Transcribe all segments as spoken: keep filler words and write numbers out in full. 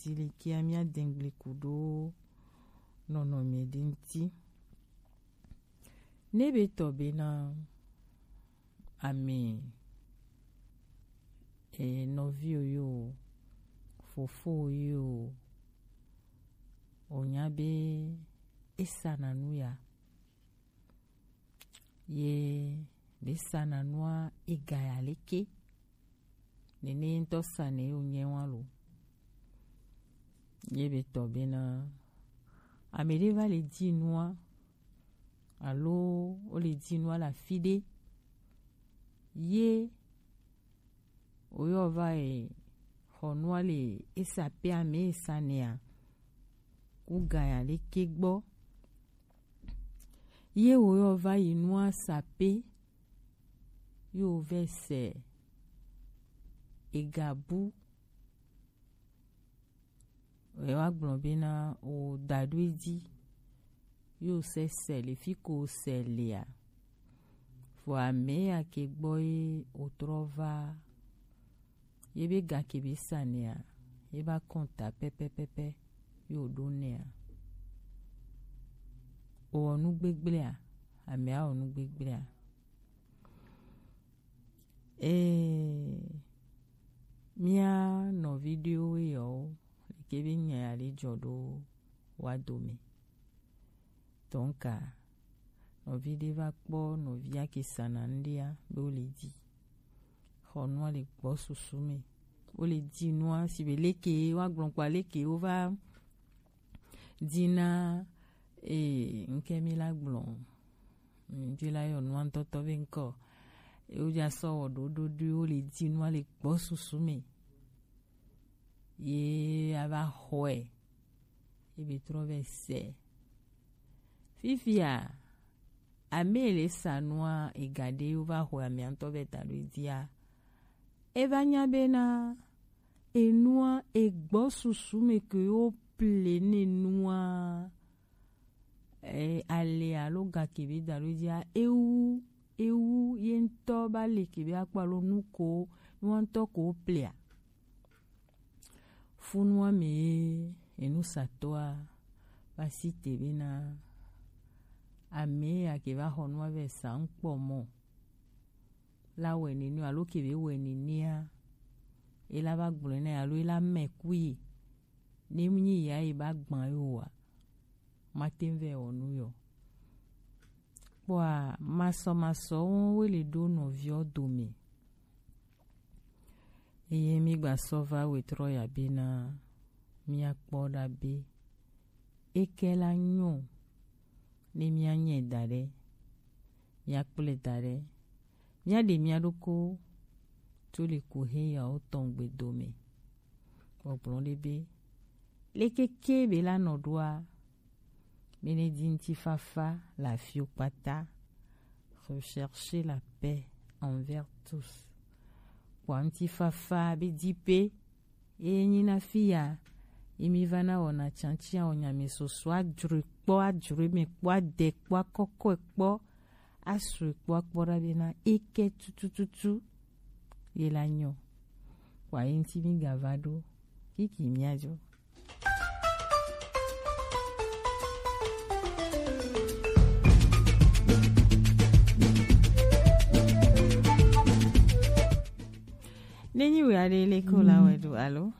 dilekea mia dengble kudo nɔnɔme de ŋti. Ne be tɔ be na ame, e, nɔvi o yo, fofo o yo, o nya be e sa na nu ya. Ye be sa na nua e ga ya leke. Nene ŋutɔ sa ne o nyɛ wa lo. Ye be tɔ be na ame ɖe va le di nua, alo o le di nua le afi ɖe. Ye o yɔ va yi xɔ nua le e sa pe ame e sa nea, ku ga ya leke gbɔ. Ye o yɔ va yi nua sa pe, yo vɛ sɛ e ga bu. Wɛ wa gblɔ be na o da ɖo edzi, yo sɛ sɛ le fi ko sɛ lea. Vɔ ame ya ke gbɔ ye o trɔ va, ye be ga ke be sa nea, ye ba kɔnta pɛpɛpɛpɛ, yo ɖo nea. O wɔ nu gbegblea, ame a wɔ nu gbegblea. Ee, mía nɔvi ɖewo yɔwo leke be nya ya le jɔ ɖo wa dome. Donc, nɔvi ɖe va kpɔ nɔvia ke sana ŋɖea be wo le di. Xɔ nua le gbɔ susu me. Wo le di nua si be leke wa gblɔ kpa leke wo va dina, ee, ŋke mi la gblɔ. Ŋdi la yɔ nua ŋtɔtɔ be ŋkɔ. Ye wo dza sɔ wɔ ɖoɖo ɖoe wo le di nua le gbɔ susu me. Ye a va xɔe. Ye be trɔ vɛ sɛ. Fifia, ame le sa nua ega ɖe wo va xɔe amea ŋtɔ vɛ ta ɖo edia. E va nya be na enua egbɔ susu me ke wo ple ne nua, e, ale alo ga ke be da ɖo dzia, ewu, ewu ye ŋtɔ ba le ke be akpɔ alo nu ko, nua ŋtɔ ko wo plea. Funua me ye enusatɔa va si te be na ame ya ke va xɔ nua vɛ sa ŋkpɔ mɔ. La wɛ nene alo ke be wɛ nenea, e la va gblɔe na ye alo e la mɛ ku ye. Ne mu nyi ya ye ba gban ye o wa, ma te ŋ vɛ wɔ nu yɔ. Kpɔa, masɔmasɔ wo le ɖo nɔviɔ dome. Eye mi gba sɔ va wetrɔ ya be na mia kpɔ ɖa be eke la nyɔ ne mia nyɛ da ɖe, mia kplɔe da ɖe, mia ɖe mia ɖoko tso le ku he yawo tɔn gbe dome. Gbɔgblɔ ɖe be, leke ke be la nɔ ɖoa, mi ne di ŋutifafa le afiwo kpata. Recherchez la paix envers tous. Kpɔa ŋutifafa be di pe, eye nyi na fi ya, yi mi va na wɔna tiatia wɔ nyame soso adzroe kpɔ, adzroe me kpɔ, adɛ kpɔ, akɔkɔe kpɔ, asrɔe kpɔ, akpɔ ɖa be na eke tutututu ye la nyɔ. Kpɔa ye ŋuti mi ga va ɖo kiki mia dzo. Nenyi wɛ aɖe le ko la wɛ ɖo alo?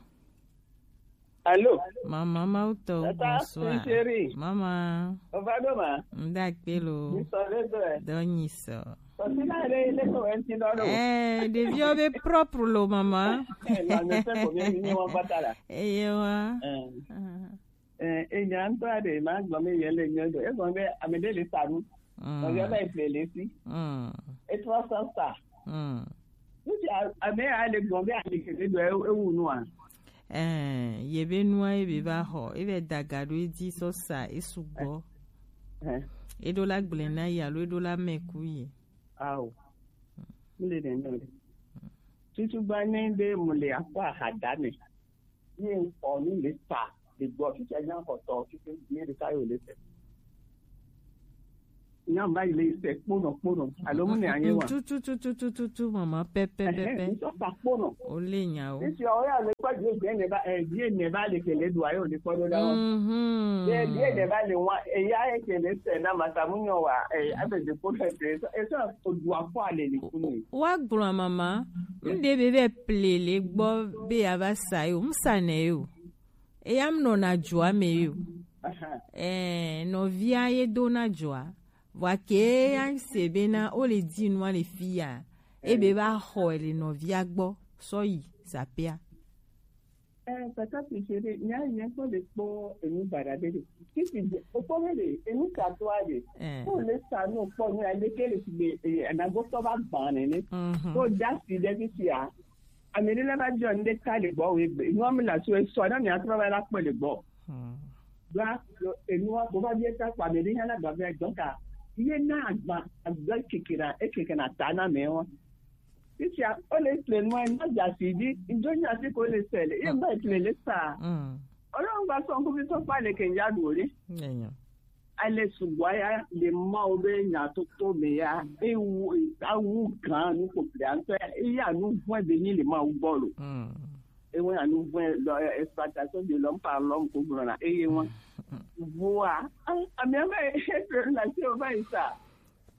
Alo. Mama, Mawu tɔ, bonsoir. Chérie. Mama. O va ɖo ma? Ŋda kpe lo. Nyisɔ ɖe do ɛ. Dɔ nyisɔ. Kɔsina ɖe le ko ŋuti dɔ ɖo. Eh, ɖeviwo be propre lo, mama. Eh, non, mais c'est combien mi nyɔ kpata la? Eye wa. Eh. Ah. Eh, enya ŋutɔ aɖe ma gblɔ mi ye le nyɔ do. Egblɔ be ame ɖe le sa nu. Mm. Nɔvia va yi ƒle le esi. Mm. Etrɔ sɔ sa. Mm. Ŋuti a-, ame ya le gblɔ be ame kele do ewu nua. Eh, ye be nua ye be va xɔ, e vɛ da ga ɖo edzi sɔ sa, e sugbɔ. Eh. E ɖo la gblẽ na ye alo e ɖo la mɛ ku ye. Ao. Mi le nɛ nɔ de. Tutu gba ne de mu le akɔ ahada me. Ye ŋkɔ nu le ta le gbɔ, fifia nya xɔtɔ, fifia nye ɖeka ye wòle te. Nya mba ile se kpono kpono. Alo mu ne anye wa. Tutututututu mama pepepepe. Nso sa kpono. Ole nya o. Isi o ya le kwa je je ne ba eh je ne ba le kele do ayo le kodo da wa. Mhm. Je je ne ba le wa e ya e kele se na mata mu nyo wa eh abe de ko le se. Eso o do afo ale le kunu. Wa gblɔ mama. Mde be be plele gbɔ be ya va sa yo. Msa ne yo. Eya mnɔna dzoa me yo. Ɛɛ, nɔvia ye dona dzoa. Vɔa ke ya se bena o le di nua le fi ya. Ebe va xɔ le nɔvia gbɔ sɔ yi sapea. Eh, papa Chéri, nya nya ko le kpɔ enu bara de de. Kiki de, o kpɔ be de, enu ka to a de. Eh. Ko le sa no kpɔ nya le ke le si be, eh, na go to ba ban ne. Mhm. Ko da si de si a. Ame ɖe la va biɔ ŋɖe ta le gbɔ wò egbe. Enua me le asi wò, esɔ na mia trɔ va la kpɔe le gbɔ. Hmm. Ɖoa, enua, bo va bia ta kpɔ ame ɖe hã la gba vɛ dɔn ka. Ye na agba, agba keke na, ekeke na ta na me wa. Fifia, o le ple nua, na dza si dzi, ŋdzo nya si ko le se le, ye ma ple le sa. Hmm. Olo ŋgba sɔ ŋkuvi sɔ kpa le ke ŋdza ɖu o ɖe. Enyo. Ale sugbɔ ya le Mawu be nyatoto me ya, ewu, awu gã nu kpokplia ŋutɔ ya, eya nu vɔ̃e be nyi le Mawu gbɔ lo. Mm. Ewe anu vɔ̃e lɔ, exploitation de l'homme par l'homme ko gblɔna, eye wa. Voa, a-, amia va etre la se o va yi sa.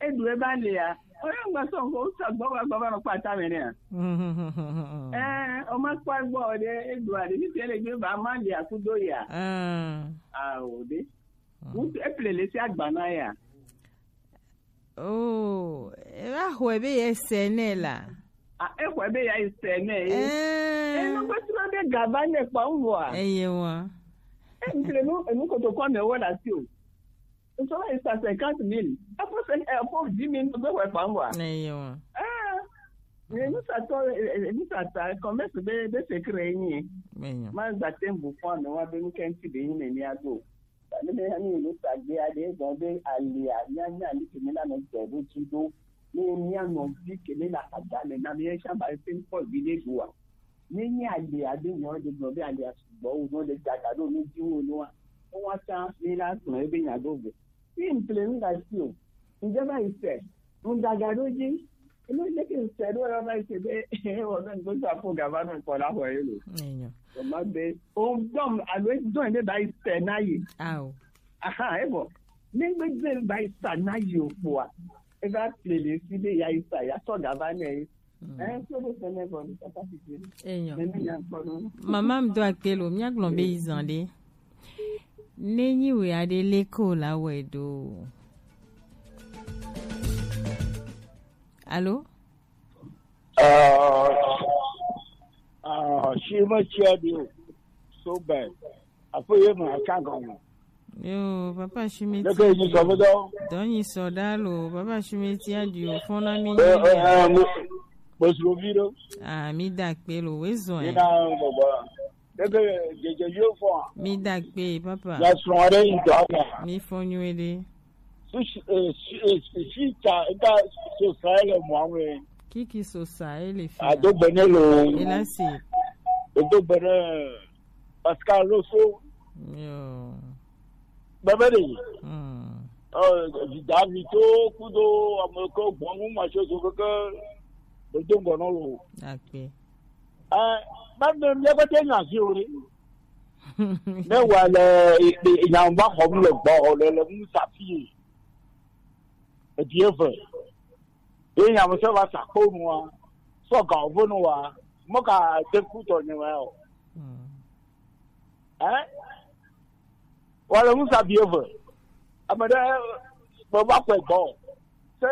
Edu e ba le ya. O ya ŋgba sɔ ko sa gbɔ va gbɔ va nɔ kpata me ne ya. Mm. Eh, o ma kpɔ gbɔ de, edu a de, ni tele gbe ba ma le ya ku do ya. Ah. Ah, o de. Ŋutsu eple le sia gba na ya. Oh, eva xɔe be ye se nɛ la. A exɔe be ya yi se nɛ ye. Eh. Enu be tura be gaba ne kpa ŋua. Eye wa. E ŋkle nu enu koto kɔ me wo la si o. Ŋutsu la yi sa cinquante mille. Apo se apo dix mille be xɔe kpa ŋua. Eye wa. Ah. Ne nu sa tɔ, nu sa ta commerce be be secret ni. Eye. Ma gba tembu fɔ me wa be nu kenti be ni me ni ado. Ne mi hã mi nu tagbe aɖe gɔ̃ be alia míanya li ke mi la nɔ dze ɖo dzi ɖo. Ne mía nɔvi ke mi la ada le na mi etsã ba ete kpɔ vi ɖe ɖoa. Ne nye alia ɖe nyɔ ɖe gblɔ be alia sugbɔ wo nɔ ɖe gaga ɖo nu dzi wo nua. Ewa tsã mi la gblɔ ebe nya ɖo vɛ. Mi mple nu ga si o. Ŋdze va yi se. Ŋdaga ɖo dzi. Enu ɖe ke ŋse ɖo ya va yi se be ewɔ be ŋgbe sa fo gava nɔ kpɔ la xɔ ye lo. Enyo. O ma be o dɔm alo e dɔn be ba yi se na yi. Ao. Aha, e bɔ. Ne ŋgbe dze ba yi sa na yi o kpoa. E va ple le si be ya yi sa ya sɔ gava nɛ. Mm. Eh, so ɖo se ne vɔ ni papa si se. Enyo. Ne mi nya kpɔ no. Mama m do akpe lo, mía gblɔ be yi zan ɖe. Ne nyi wɛ aɖe le ko la wɛ do. Alo? Ah, ah, si me tsia di o. So bad. Aƒe ye me aka gɔme. Yo, papa Shimeti. Leke yi sɔ be dɔ? Dɔ nyi sɔ da lo, papa Shimeti a di o fɔn na mi. Eh, eh, eh, mo, mo sro vi ɖo. Ah, mi da kpe lo, we zɔn. Yina bɔbɔ. Leke dzedze yo fɔn. Mi da kpe, papa. Ya srɔ̃ aɖe yi dɔ aka. Mi fɔ nyuie ɖe. Su si, eh, si, eh, si, si ta, ta so sa le mɔ ame. Kiki so sa ele fi. A do gbe ne lo. Ela si. E do gbe ne Pascal Loso. Yo. Bebe de. Hmm. Euh, David to kudo ameko gbɔnu ma so so keke. E do gbe no lo. Akpe. Eh, ba me mi ko te na si o re. Ne wa le, e, e, nya ba xɔm le gbɔ, le, le mu sa fi. Edi eve. Ye nya me se va sa kpo nua. Sɔ ga wo nua. Mo ka de ku tɔ nye wa o. Hmm. Eh? Wa le mu sa bi eve. Ame ɖe me va kpɔe gbɔ. Se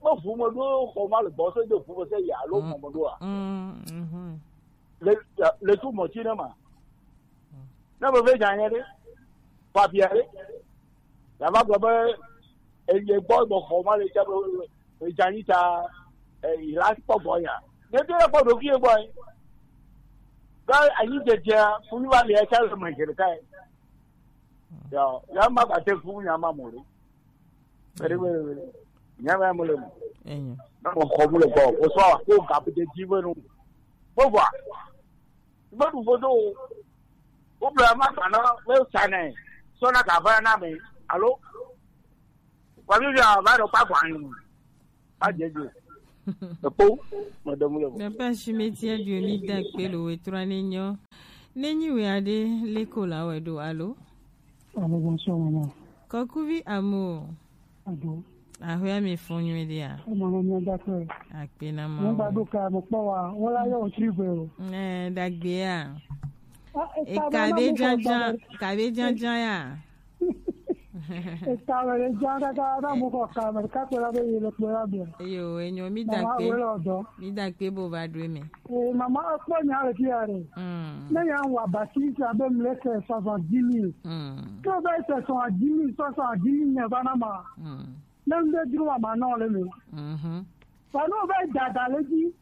me ʋu me ɖo xɔ ma le gbɔ se de ʋu me se ya alo mɔ me ɖoa. Mm, mhm. Le, le tu mɔ ti ne ma. Ne me ve nya nye ɖe. Papia ɖe. Ya va gblɔ be eye gbɔ gbɔ xɔ ma le tsa be edza nyi ta, eh, yi la kpɔ gbɔ ya. Ne do la kpɔ ɖo fi gbɔ yi. Ke anyi dzedzea, funu va le ya tsa le me dze ɖeka yi. Ya, ya ma gba te fu nya ma mo ɖe. Ere, ere, ere. Nya ma mo le mo. Enyo. Na mo xɔ mu le gbɔ. O sɔ ko ga pe de dzi ve nu. Bo va. Meɖu vodo o. Wobla ma gba na, me sa nɛ. Sɔ na gava na me. Alo? Wa mi bia ba do pa kwa ni. Ba je je. Epo, madame le. Papa Shimeti adio mi da pe lo we tura ni nyo. Nenyi we ade le ko la we do alo. Alo, bonsoir, maman. Kokuvi amo. Ado. Ahwe mi fun nyu dia. Maman, mi da pe. Akpe na mo. Mo ba do ka mo pa wa. Wala yo tribe o. Eh, dagbe ya. Ah, e ka be janjan, ka be janjan ya. Eka wele jan kaka na mu ko ka me ka pe la be yele pe la be. Yo, enyo mi da pe. Mama wele odo. Mi da pe bo ba dwe me. Eh, mama akpo nya le ti are. Mm. Na ya wa ba ti sa be mle ke soixante-dix mille. Mm. Ko be se soixante-dix mille, soixante-dix mille ne ba na ma. Mm. Na nde dru wa ma no le me. Mhm. Ba no be dada le ji.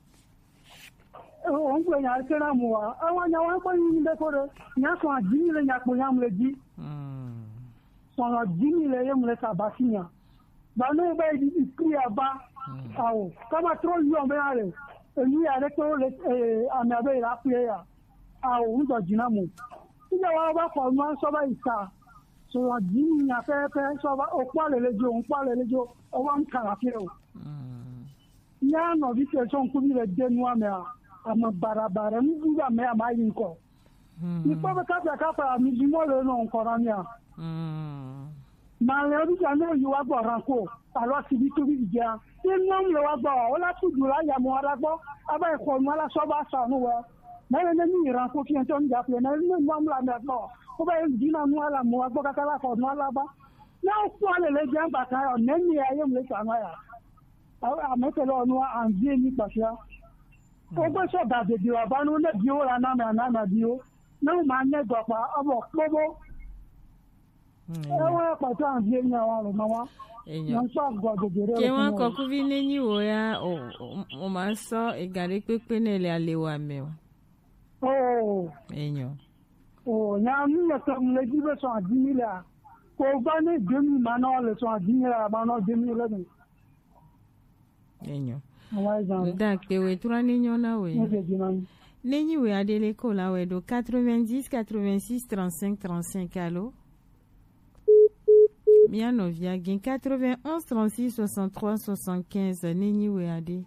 O n gbe nya ke na mu wa. Awa nya wa ko yin be ko de. Nya soixante-dix mille nya ko nya mu le ji. Mm. Soixante-dix mille ye mu le sa ba si nya. Ba no be di di pri aba. Mm. Awo. Kama tro yo be ale. E ni ya le to le, eh, ami abe la pri ya. Awo, n do jina mu. Ina wa ba ko ma so ba isa. Soixante-dix mille nya pe pe so ba o pa le le jo, o pa le le jo. O wa n kala fi o. Mm. Nya no bi ke so n ku bi le de nu ame a. Ama bara bara, n bu ba me ama yin ko. Mm. Ni ko be ka ka pa mi bi mo le no n ko na mi a. Mm. Ma le bi ja no yi wa gbo ran ko. Alo si bi tu bi ja. Ti no le wa gbo. O la tu ju la ya mo ara gbo. Aba e ko mo la so ba sa no wa. Na le ni ran ko fi en to n ja pe. Na le ni mo la me gbo. Ko ba e di na mo ala mo wa gbo ka ka la ko mo ala ba. Na o ko le le ja ba ka yo. Ne ni ya ye mo le sa ma ya. Awo, amete lɔ nua anvi ni kpafia. Ogbe sɔ ga dede wa ba nu ne biwo la na me ana na biwo. Ne o ma ne dɔ kpa abo kpobo. Ewa kpata anvi ni awa lo ma wa. Enyo. Na so ga dede re. Ke wa kɔkuvi ne nyi wo ya o o ma sɔ ega ɖe kpekpe ne le ale wa me o. Oh. Enyo. Oh, nya mi le kam le ji be sɔ dix mille a. Ko ba ne deux mille ma no le sɔ dix mille a ma no deux mille le. Enyo. Nda kpe we tura ni nyo na we. Ne nyi we adele ko la we do quatre-vingt-dix, quatre-vingt-six, trente-cinq, trente-cinq, alo. Mia no via gin quatre-vingt-onze, trente-six, soixante-trois, soixante-quinze, ne nyi we ade.